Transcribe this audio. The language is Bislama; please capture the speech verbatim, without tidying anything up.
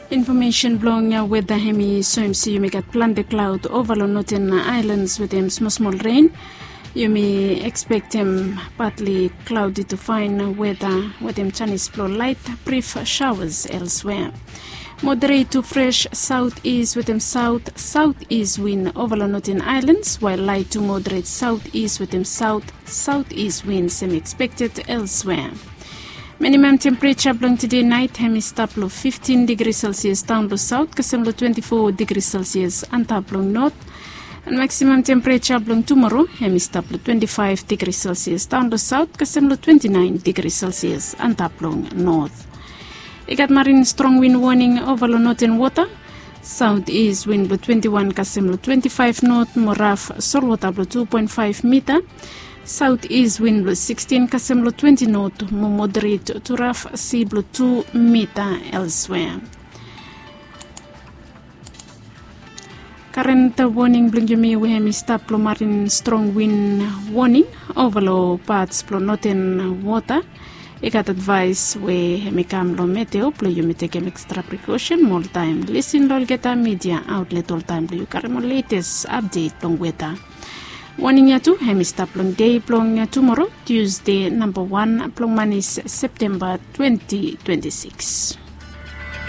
Infomesen blong weda hem i soem se yumi gat plante klaod ova long noten aelans wetem smosmol ren. Yumi ekspektem patli klaodi tu faen weda wetem janis blong laet, brif shaoas elswea. Moderet tu fres saot is wetem saot saot is win ova long noten aelans, wael laet tu moderet saot is wetem saot saot is win sem ekspekted elswea. Minimam tempereja blong tede naet hem i stap long fiftin digri selsias daon long saot kasem long twenti fo digri selsias antap long not. An maksimam tempereja blong tumoro hem i stap long twenti faef digri selsias daon long saot kasem long twenti naen digri selsias antap long not. I gat marin strong win woning ova long noten wota. Saot is win blong twenti wan kasem long twenti faef not mo raf solwota blong tu poen faef mita. Saot is win blong sikstin kasem long twenti not mo moderet tu raf si blong tu mita elswea. Karen, woning blong yumi we hem i stap long marin strong win woning ova long pats blong noten wota. I gat advaes we hem i kam long meteo blong yumi tekem ekstra prikosen mo oltaem lisin long olgeta midia aotlet oltaem blong yu karem ol letes apdet blong weta. Woning ya tu hem i stap long dei blong tumoro, Tusde namba wan blong manis, Septemba twenti twenti sikis.